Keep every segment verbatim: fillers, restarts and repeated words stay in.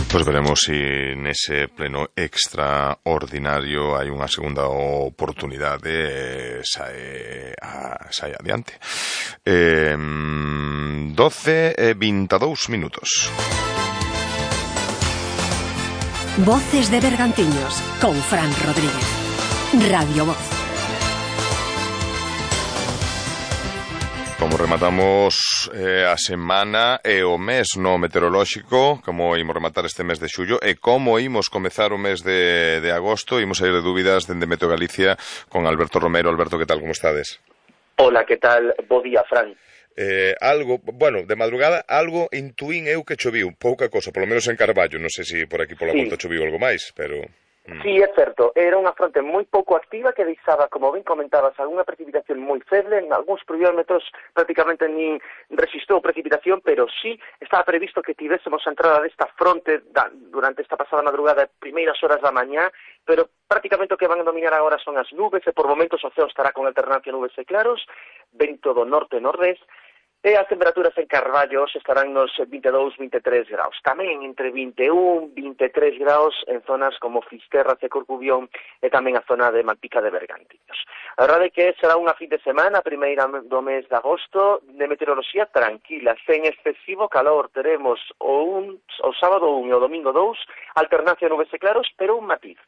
Pois veremos se si nese pleno extraordinario hai unha segunda oportunidade e sae, a, sae adiante. Eh, doce e vinte e dous minutos. Voces de Bergantiños con Fran Rodríguez. Radio Voz. Como rematamos eh, a semana e o mes no meteorolóxico, como imos rematar este mes de xullo e como imos comezar o mes de, de agosto, imos sair de dúbidas dende Meteo Galicia con Alberto Romero. Alberto, que tal, como estades? Hola, que tal? Bo día, Fran. Eh, algo, bueno, de madrugada algo intuín eu que choviu, pouca cosa, polo menos en Carballo, non sei se por aquí pola sí. volta choviu algo máis, pero... Sí, é certo, era unha fronte moi pouco activa que deixaba, como ben comentabas, algunha precipitación moi feble, en algúns pluviómetros prácticamente nin rexistrou precipitación, pero sí estaba previsto que tivésemos a entrada desta fronte da, durante esta pasada madrugada, primeiras horas da mañá, pero prácticamente o que van a dominar agora son as nubes, e por momentos o ceo estará con alternancia nubes e claros, vento do norte-nordés, e as temperaturas en Carballo estarán nos vinte e dous, vinte e tres graus. Tamén entre vinte e un, vinte e tres graus en zonas como Fisterra, e Corcubión e tamén a zona de Malpica de Bergantiños. A verdade é que será unha fin de semana, primeira do mes de agosto, de meteoroloxía tranquila, sen excesivo calor. Teremos o, un, o sábado un e o domingo dous, alternancia nubes e claros, pero un matiz.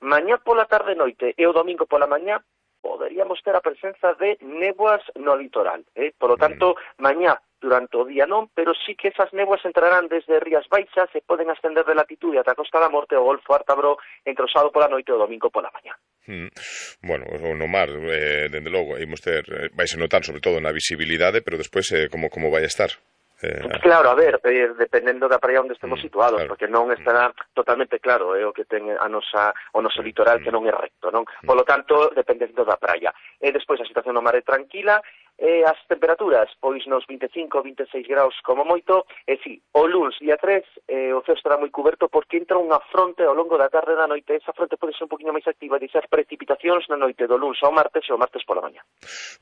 Mañá pola tarde noite e o domingo pola mañá poderíamos ter a presenza de néboas no litoral. Eh? Por lo tanto, mañá durante o día non, pero sí que esas néboas entrarán desde Rías Baixas e poden ascender de latitude ata a Costa da Morte o Golfo Ártabro entre o sábado pola noite e o domingo pola mañá. Mm. Bueno, no mar, eh, dende logo, imos ter, eh, vais a notar sobre todo na visibilidade, pero despois eh, como, como vai a estar? Eh... Claro, a ver, eh, dependendo da praia onde estemos mm, situados, claro. Porque non estará totalmente claro eh, o que ten a nosa, o noso litoral, mm. que non é recto, non? Mm. Por lo tanto, dependendo da praia. E despois a situación no mar é tranquila, e as temperaturas, pois nos vinte e cinco, vinte e seis graus como moito, e si, o luns, día tres, eh, o ceo estará moi cuberto porque entra unha fronte ao longo da tarde e da noite. Esa fronte pode ser un poquinho máis activa e deixar precipitacións na noite do luns ao martes e o martes pola mañá.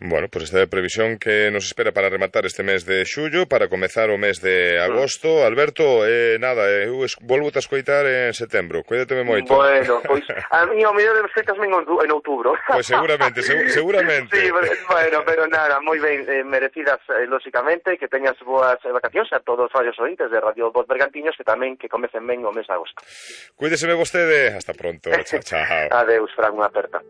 Bueno, pois pues esta é a previsión que nos espera para rematar este mes de xullo, para comezar o mes de agosto. Mm. Alberto, eh, nada, eu eh, volvo a escoitar en setembro, cuídateme moito. Bueno, pois a mí o mellor escoitasme en outubro. Pois pues seguramente, seg seguramente. Sí, bueno, pero nada, moi ben, eh, merecidas, eh, lóxicamente, que teñas boas eh, vacacións a todos os radios ointes de Radio Voz Bergantiños, que tamén que comecen ben o mes de agosto. Cuídeseme vostede, hasta pronto, chao, chao. Adeus, Fran, unha aperta.